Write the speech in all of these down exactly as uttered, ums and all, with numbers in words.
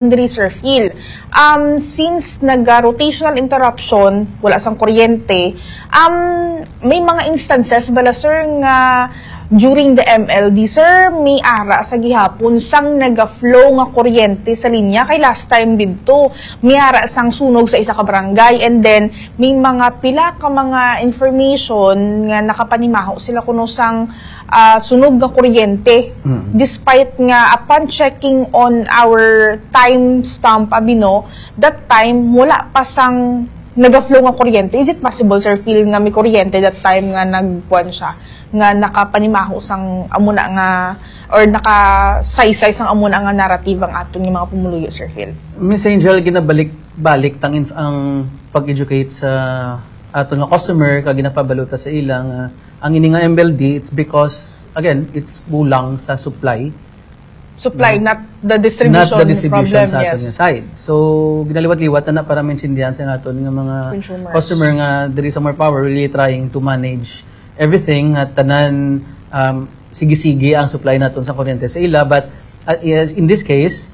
diri, Sir Phil. Um, since naga-rotational interruption, wala sang kuryente, um, may mga instances bala, sir, nga during the M L D, sir, may ara sa gihapon sang naga-flow nga kuryente sa linya? Kay last time didto, may ara sang sunog sa isa ka barangay, and then may mga pila ka mga information nga nakapanimaho sila kuno sang, ah, sunog nga kuryente. Mm. Despite nga, upon checking on our time stamp, abi, no, that time, wala pa sang naga-flow nga kuryente. Is it possible, Sir Phil, nga may kuryente that time nga nagkuan siya, nga nakapanimaho sang amo na nga, or nakasaysay sang amo na nga narrative ang aton nga mga pumuluyo, Sir Phil? Miss Angel, ginabalik-balik tang inf-, ang pag-educate sa aton nga customer, kag ginapabaluta sa ila nga ang ini nga M L D, it's because, again, it's kulang sa supply. Supply, no? Not the distribution, not the distribution problem, sa aton, yes, nga side. So, ginaliwat-liwat na, na para maintindihan sa aton nga mga consumers, customer nga there is more power, really trying to manage everything, nga tanan, um, sige-sige ang supply naton sa kuryente sa ila. But, uh, yes, in this case,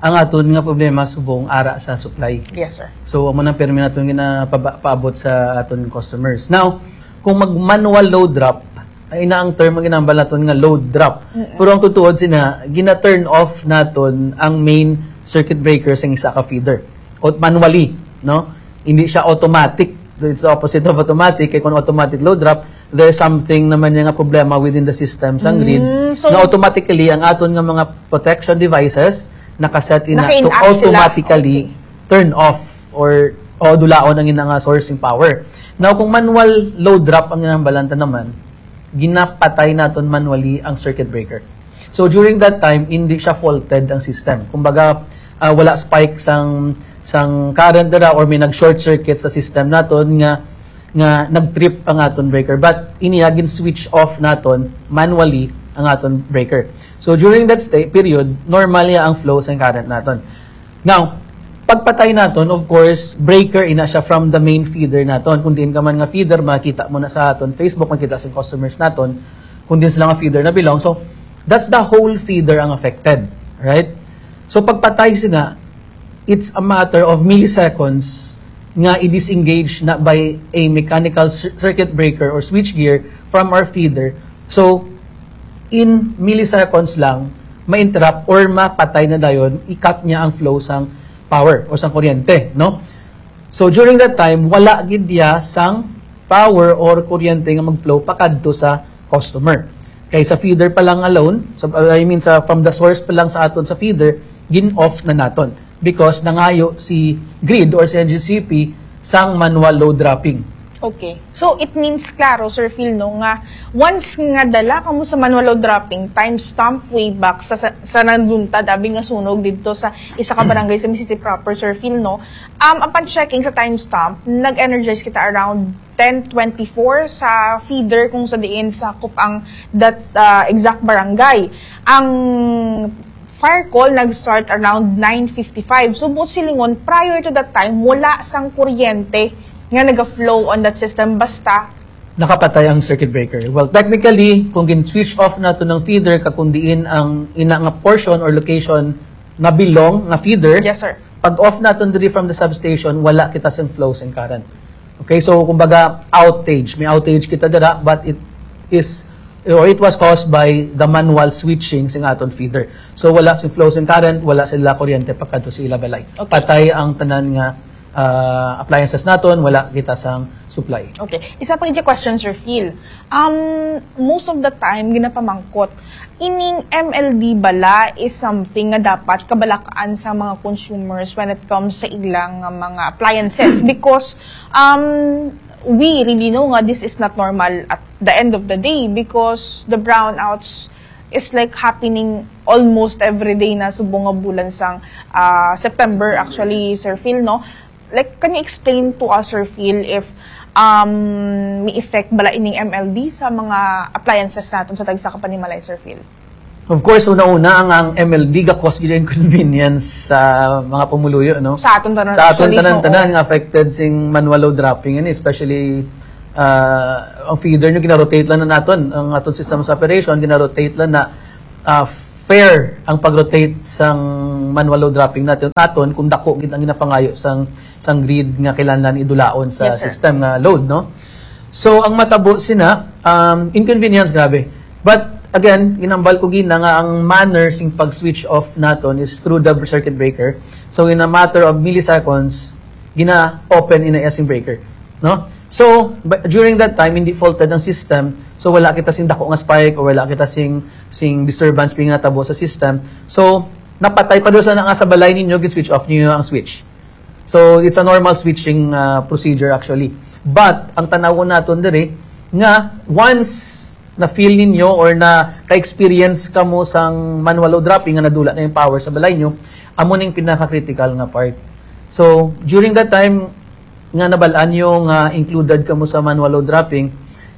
ang aton nga problema subong ara sa supply. Yes, sir. So, amo nang permi naton ginapaabot sa aton customers. Now, kung mag-manual load drop, ay na ang term nga ginahambal naton nga load drop. Mm-mm. Pero ang tutuod sina, gina-turn off naton ang main circuit breaker sa isa ka feeder. O manually, no? Hindi siya automatic. It's the opposite of automatic. Kay kung automatic load drop, there's something naman niya nga problema within the system sa grid. Mm, so, na automatically, ang aton nga mga protection devices naka-set in na to naka-in-act sila, automatically, okay, turn off or, o dulaon ang ina nga sourcing power. Now, kung manual load drop ang ginahambal naton, ginapatay naton manually ang circuit breaker. So, during that time, hindi siya faulted ang system. Kumbaga, ah, wala spike sang, sang current dira or may nag-short circuit sa system naton nga, nga nag-trip ang aton breaker. But iniya, gin-switch off naton manually ang aton breaker. So, during that sta-, period, normal niya ang flow sa current naton. Now, pagpatay naton, of course, breaker ina siya from the main feeder naton. Kung diin ka man nga feeder, makita mo na sa aton Facebook, makita sa customers naton, kung diin sila nga feeder na belong. So, that's the whole feeder ang affected, right? So, pagpatay sina, it's a matter of milliseconds nga i-disengage na by a mechanical cir-, circuit breaker or switch gear from our feeder. So, in milliseconds lang, ma-interrupt or mapatay na dayon, i-cut niya ang flow sang power o sang kuryente, no? So, during that time, wala gid diya sang power or kuryente nga mag-flow pakadto sa customer. Kay sa feeder pa lang alone, sa, I mean, sa, from the source pa lang sa aton sa feeder, gin-off na naton. Because nangayo si grid or si N G C P sang manual load dropping. Okay. So, it means, klaro, Sir Phil, no, nga once nga dala kamo sa manual load dropping, timestamp way back sa, sa, sa nanduntad, abi nga sunog didto sa isa ka barangay sa City proper, Sir Phil, no, um, upon checking sa timestamp, nag-energize kita around ten twenty-four sa feeder kung sa diin sakop ang that, ah, exact barangay. Ang fire call nag-start around nine fifty-five. So, buot silingon, prior to that time, wala sang kuryente nga naga-flow on that system. Basta nakapatay ang circuit breaker. Well, technically, kung gin-switch off nato ng feeder, kag kung diin ang ina nga portion or location nga belong nga feeder, yes, sir, pag-off naton diri from the substation, wala kita sing flow sing current. Okay, so kumbaga outage, may outage kita dira, but it is, or it was caused by the manual switching sing aton feeder. So wala sing flow sing current, wala sila kuryente pagkadto sa ila balay. Okay. Patay ang tanan nga, ah, appliances naton, wala kita sang supply. Okay. Isa pa gid question, Sir Phil. Um, most of the time, ginapamangkot, ining M L D bala is something nga dapat kabalakaan sa mga consumers when it comes sa ilang, uh, mga appliances? Because, um, we really know nga this is not normal at the end of the day, because the brownouts is, like, happening almost every day na subong nga bulan sang, ah, September, actually, Sir Phil, no? Like, can you explain to us, Sir Phil, if, um, may effect bala ining M L D sa mga appliances naton sa tagsa ka panimalay, Sir Phil? Of course, una-una, ang, ang M L D ga-cause gyud inconvenience sa mga pumuluyo, no? Sa aton tanan, sa aton actually, tanan, oo, tanan nga affected sing manual load dropping, ani, especially, ah, ang feeder nyo, gina-rotate lang na naton. Ang aton system of operation, gina-rotate lang na, ah, fair ang pag-rotate sang manual load dropping natin, naton kung dako gid ang ginapangayo sang, sang grid nga kailangan idulaon sa Yes, sir. system nga load, no? So, ang matabo sina, um, inconvenience, grabe. But, again, ginambal ko gina nga ang manner sing pag-switch off naton is through the circuit breaker. So, in a matter of milliseconds, gina-open in a sing breaker, no? So, but during that time, hindi faulted ang system. So, wala kita sing dako nga spike or wala kita sing, sing disturbance pinatabo sa system. So, napatay pa doon sa nga sa balay ninyo, gin-switch off niyo ang switch. So, it's a normal switching, uh, procedure actually. But, ang tanawon naton diri, nga once na-feel ninyo or na ka-experience kamo sang manual load dropping nga nadula na yung power sa balay nyo, amo ning pinaka-critical nga part. So, during that time nga nabalaan nyo nga included kamo sa manual load dropping,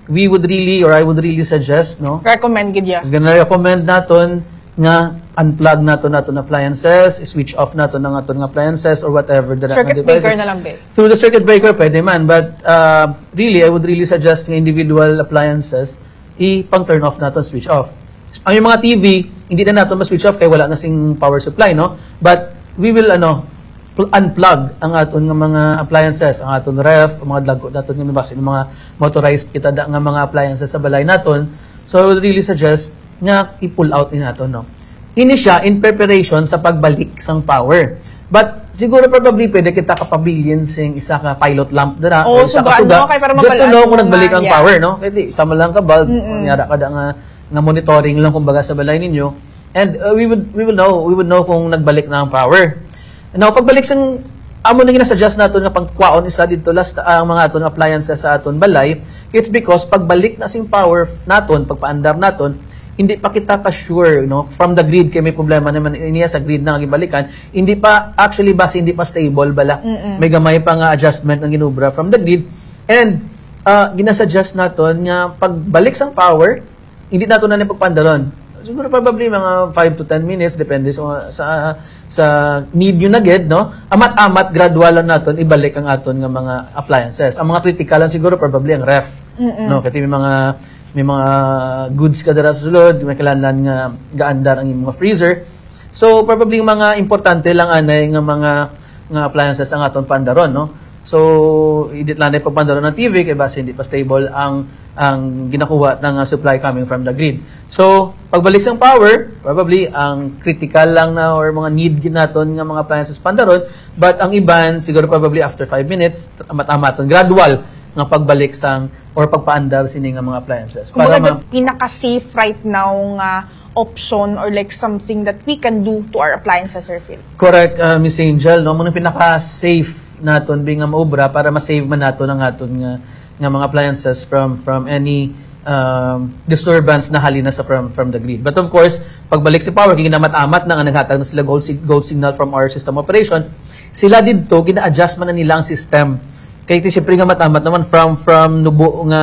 we would really, or I would really suggest, no? Recommend gid ya. Gana-recommend naton nga unplug naton naton appliances, switch off naton ang aton nga appliances or whatever the Circuit breaker devices. Na lang, be. Through the circuit breaker, pwede man. But, uh, really, I would really suggest nga individual appliances, i-pang turn off naton, switch off. Ang yung mga T V, hindi na naton ma-switch off kay wala na sing power supply, no? But we will, ano, pl-, unplug ang aton nga mga appliances, ang aton ref, ang mga dagko naton nga basin mga motorized kita da nga mga appliances sa balay naton. So I would really suggest nga i-pull out ni naton, no? Ini siya in preparation sa pagbalik sang power. But siguro probably pwede kita kapabilin sing isa ka pilot lamp dira o isa ka suga, no? Kay para just to know kung nagbalik ang power, no? Kay di, isa man lang ka bulb, kunyara ka da nga, nga monitoring lang kumbaga sa balay ninyo. And, uh, we would, we will know, we would know kung nagbalik na ang power. Now, pagbalik sang amo na ginasuggest naton nga pangkuhaon isa didto last ang mga aton appliances sa aton balay, it's because pagbalik na sing power naton, pagpaandar naton, hindi pa kita ka sure, no, from the grid, kay may problema naman niya sa grid na nga gibalikan, hindi pa, actually, basi hindi pa stable bala. Mm-mm. May gamay pa nga adjustment ang ginubra from the grid. And, uh, ginasuggest naton nga pagbalik sang power, hindi nato na ni pagpandaron. Siguro probably mga five to ten minutes, depende sa, sa, sa need nyo na gid, no? Amat-amat, gradual lang naton ibalik ang aton nga mga appliances. Ang mga critical lang siguro probably ang ref, Mm-mm. no? Kasi may mga, may mga goods ka dira sa sulod, may kailangan nga gaandar ang imong mga freezer. So, probably yung mga importante lang anay nga mga, nga appliances ang aton pandaron, no? So, idit lang na pagpandaron ng T V kay basi hindi pa stable ang, ang ginakuha ng, uh, supply coming from the grid. So, pagbalik sang power, probably ang critical lang na or mga need gid naton nga mga appliances pandaron, but ang iban siguro probably after five minutes, amat-amaton, gradual nga pagbalik sang or pagpaandar sini nga mga appliances. Kumbaga, para ma- the pinaka-safe right now nga option or, like, something that we can do to our appliances, Sir Phil? Correct, uh, Miss Angel, no? Muna pinaka-safe naton bi nga maubra para ma-save man naton ang aton nga, nga mga appliances from, from any, um, disturbance na halin na sa from, from the grid. But of course, pagbalik sa power, kay ginamat-amat na nga naghatag na sila gold sig-, gold signal from our system operation, sila didto, gina-adjust man na nila ang system. Kay ti siyempre nga matamat naman from, from nubo nga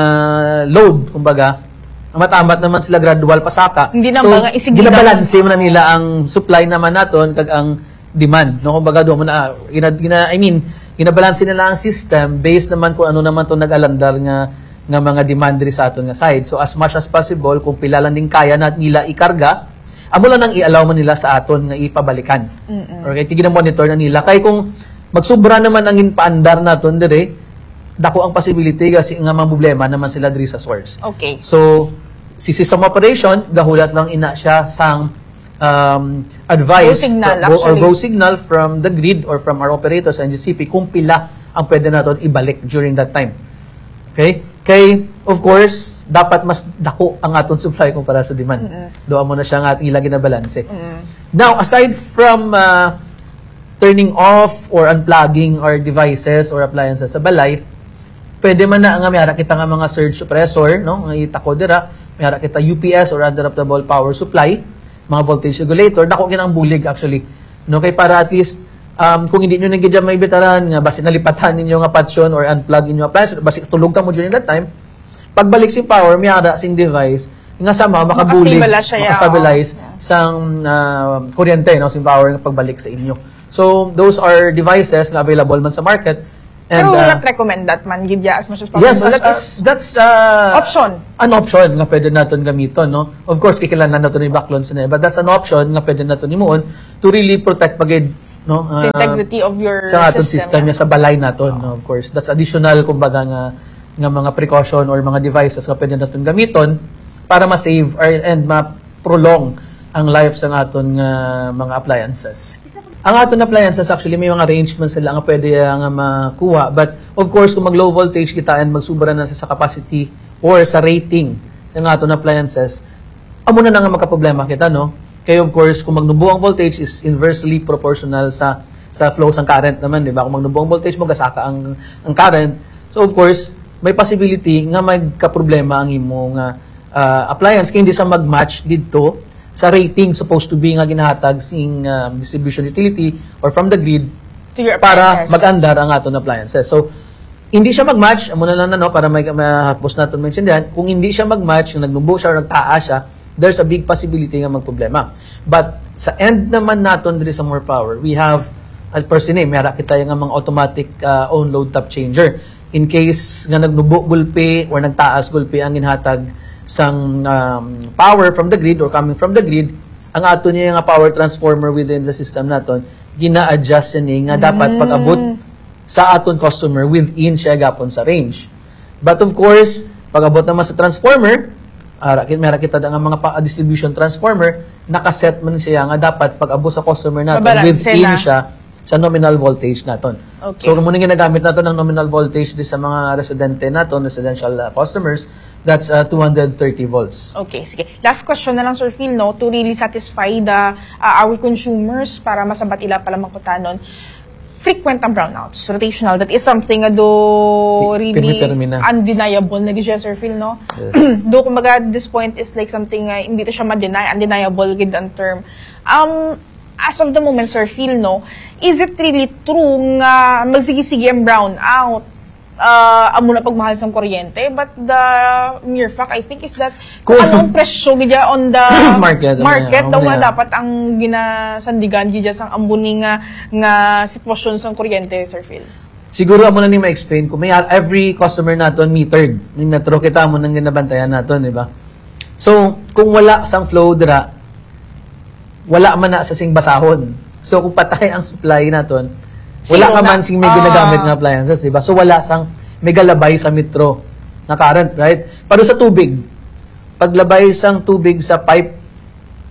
load, kumbaga, matamat naman sila gradual pasaka. Hindi na So, ba nga isigida? Ginabalanse man na nila ang supply naman naton kag ang demand, no? Kumbaga, doon mo na, gina-, gina-, I mean, ginabalanse nila ang system based naman kung ano naman to nag-alandar nga, nga mga demand diri sa aton nga side. So, as much as possible, kung pila lang din kaya na nila ikarga, amo lang nang i-allow man nila sa aton nga ipabalikan. Mm-mm. Okay, kaya gina-monitor na nila. Kay kung magsubra naman ang ginpaandar naton dire, dako ang possibility kasi nga mga problema naman sila diri sa source. Okay. So, si system operation, gahulat lang ina siya sang, um, advice Go signal, fro-, go, or actually. Go signal from the grid or from our operator sa N G C P kung pila ang pwede naton ibalik during that time. Okay? Kay, of course, dapat mas dako ang aton supply kumpara sa demand. Mm-mm. Doon mo na siya nga ating ilang ginabalanse. Mm-mm. Now, aside from, uh, turning off or unplugging our devices or appliances sa balay, pwede man na nga may ara kita nga mga surge suppressor, no? Nga itako dira, may ara kita U P S or uninterruptible power supply, mga voltage regulator, dako gid ang bulig actually. No, kay para at least, um, kung hindi nyo na gid may bitaran nga basi nalipatan ninyo nga patyon or unplug inyo appliance, basi tulog ka mo during that time, pagbalik sing power, may ara sing device nga sama makabulig, Makastabilize siya, makastabilize oo. sang, ah, kuryente, no, sing power nga pagbalik sa inyo. So, those are devices nga available man sa market. And, Pero we will uh, not recommend that man, gid, yeah, as much as possible. Yes, as, That uh, is that's uh, option. An option nga pwede naton gamiton, no? Of course, kikilanlan naton ni baklon sa, but that's an option nga pwede naton himuon to really protect pagid, no? The uh, integrity of your sa aton system, system, yeah. Yeah, sa balay naton, no? Of course, that's additional, kumbaga, nga nga mga precaution or mga devices nga pwede naton gamiton para ma-save or, and ma-prolong ang life sa aton nga mga appliances. Ang aton appliances, actually, may mga arrangements sila nga pwede, ah, nga makuha. But, of course, kung mag-low voltage kita and magsubra na sa capacity or sa rating sa nga aton appliances, amo na na nga magkaproblema kita, no? Kay, of course, kung magnubo ang voltage is inversely proportional sa sa flow sang current naman, di ba? Kung magnubo ang voltage mo, gasaka ang, ang current. So, of course, may possibility nga magkaproblema ang imo nga, ah, appliance kay hindi sa mag-match didto sa rating supposed to be nga ginahatag sing, ah, distribution utility or from the grid To your para appliances. Mag-andar ang aton appliances. So, hindi siya mag-match, amo na lang na, no, para may mahapos naton maintindihan. Kung hindi siya mag-match, nga nagnubo siya or nagtaa siya, there's a big possibility nga magproblema. But sa end naman naton diri sa More Power, we have, uh, per se, may ara kita nga mga automatic, uh, on-load top changer. In case nga nagnubo gulpi or nagtaas gulpi ang ginhatag sang, um, power from the grid or coming from the grid, ang ato niya nga power transformer within the system naton, gina-adjust niya ni nga dapat pag-abot sa aton customer within siya gapon sa range. But of course, pag-abot naman sa transformer, ara, ki-, meron kita nga mga pa, distribution transformer, nakaset man siya nga dapat pag-abot sa customer naton Mabalanse within na. Siya sa nominal voltage naton. Okay. So, muna ginagamit naton ang nominal voltage di sa mga residente naton, residential, uh, customers, that's, uh, two hundred thirty volts. Okay, sige. Last question na lang, Sir Phil, no? To really satisfy the, uh, our consumers para masabat ila pala mangkutanon. Frequent ang brownouts, rotational. That is something nga do Si-, really pirmi-pirmi na. Undeniable na gid siya, Sir Phil, no? Yes. Do, kumbaga, this point is like something nga hindi to siya ma-deny, undeniable gid ang term. Um, as of the moment, Sir Phil, no, is it really true nga magsige-sige ang brownout? Ah, amo na pagmahal sang kuryente, but the mere fact, I think, is that Kung kung anong presyo gid on the Market, ano market yan, daw ano nga yan. Dapat ang ginasandigan gid sa amo ni nga, nga sitwasyon sang kuryente, Sir Phil. Siguro amo na ni ma-explain ko. May every customer naton metered. Ni metro kita mo nang ginabantayan naton, di ba? So, kung wala sang flow dira, wala man na sa sing basahon. So, kung patay ang supply naton, wala Zero ka na. Man sing may Ah. Ginagamit nga appliances, di ba? So, wala sang may galabay sa metro na current, right? Pero sa tubig, paglabay sang tubig sa pipe,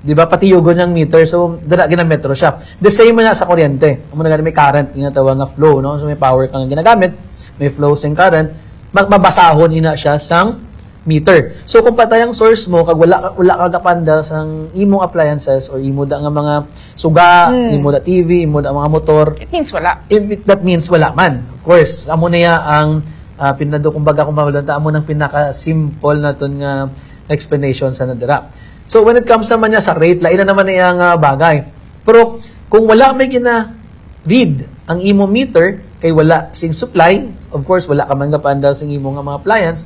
di ba, patiyugon ang meter, so dira ginametro siya. The same na sa kuryente. Amo na gani may current nga tawag nga flow, no? So may power kang ginagamit, may flow sing current, ma-, mabasahon ina siya sang meter. So kung patay ang source mo kag wala ka, wala ka gapandar sang imong appliances or imo da nga mga suga, imo da T V, imo da mga motor, It means wala. it, it- that means wala man. Of course, amo na ya ang, ah, pinado, kumbaga, kung mabalanta, amo nang pinaka-simple naton nga explanation sa nadira. So when it comes naman niya sa rate, lain na naman niya nga bagay. Pero kung wala may gina-read ang imo meter kay wala sing supply, of course wala ka man gapaandar sing imo nga mga appliance,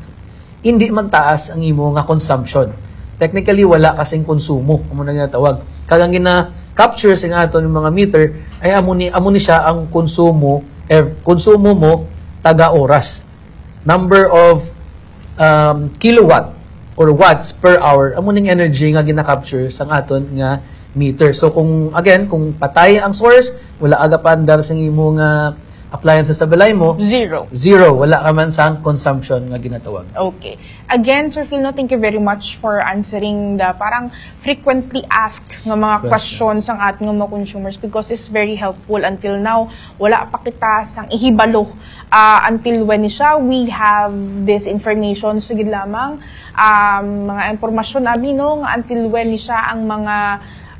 hindi magtaas ang imo nga consumption. Technically wala ka sing konsumo, amo na ginatawag. Kag ang gina-capture sa aton mga meter ay amo ni, amo ni siya ang konsumo, eh, konsumo mo taga oras. Number of, um, kilowatt or watts per hour, amo ning energy nga gina-capture sang aton nga meter. So kung, again, kung patay ang source, wala aga paandar sa imo nga appliances sa balay mo, Zero. Zero, wala ka man sang consumption nga ginatawag. Okay. Again, Sir Phil, no, thank you very much for answering the parang frequently asked nga mga Question. Questions sang aton nga mga consumers because it's very helpful until now. Wala pa kita sang ihibalo, ah, until when ni siya we have this information. Sige lamang, um, mga impormasyon abi, no, nga until when ni siya ang mga,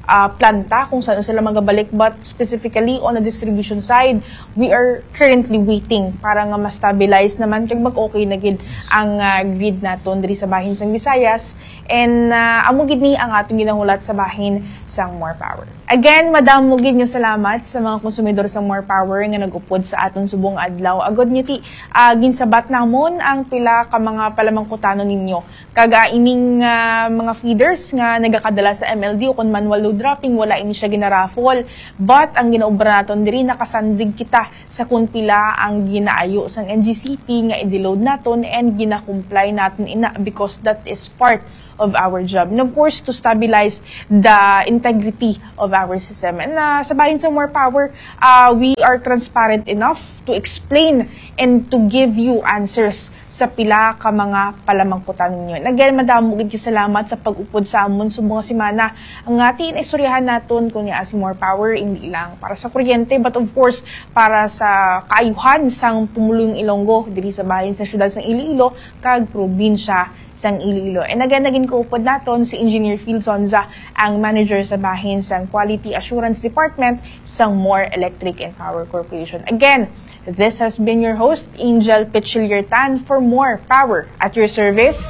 ah, planta kung saan sila magabalik, but specifically on the distribution side, we are currently waiting para nga ma-stabilize naman kag mag-okay na gid ang, ah, grid naton diri sa bahin sang Visayas. And, ah, amo gid ni ang atong ginahulat sa bahin sang More Power. Again, madamo gid nga salamat sa mga konsumidor sa More Power nga nag-upod sa aton subong adlaw. Agod nga ti, ah, ginsabat namon ang pila ka mga palamangkutanon ninyo. Kag, ah, ining, ah, mga feeders nga nagakadala sa M L D o kon manual load dropping, wala ini siya ginaraffle. But ang ginaobra naton diri, nakasandig kita sa kon pila ang ginaayo sang N G C P nga i-deload naton and gina-comply naton ina, because that is part of our job. And of course, to stabilize the integrity of our system. And, ah, sa bahin sa More Power, ah, we are transparent enough to explain and to give you answers sa pila ka mga palamangkutan ninyo. And again, madamo gid kay salamat sa pag-upod sa amon subong nga semana. Ang atin istoryahan naton kung niya si More Power, hindi lang para sa kuryente, but of course, para sa kaayuhan sang pumulong Ilonggo diri sa bahin sa siyudad sang Iloilo kag probinsya sang Iloilo. And again, naging kaupod naton si Engineer Phil Sonza, ang manager sa bahin sang Quality Assurance Department sang More Electric and Power Corporation. Again, this has been your host, Angel Pichiliertan, for More Power at your service.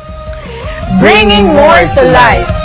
Bringing more to life.